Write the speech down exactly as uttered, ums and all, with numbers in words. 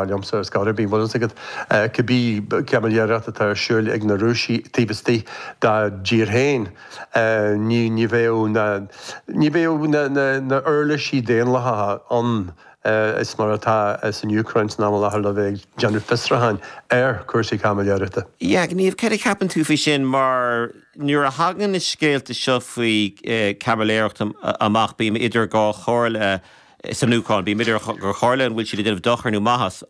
Liomsa ar scor ar bith, bhfuil fhios agat, cibé caimiléireacht atá ar siúl ag na Rúisigh taobh istigh dá dtír féin, ní ní bheadh na ní bheadh na na na uirlisí daonlathacha ann is mar atá san Úcráin san am i láthair le bheith ag déanamh fiosrúcháin ar chúrsaí caimiléireachta. Yeah, Niamh, céard a cheapann tú faoi sin mar nuair a thagann na scéalta seo faoi caimiléireacht amach bím idir dhá chomhairle san Úcráin, bím idir dhá chomhairle an bhfuil siad ag déanamh dochar nó maitheas.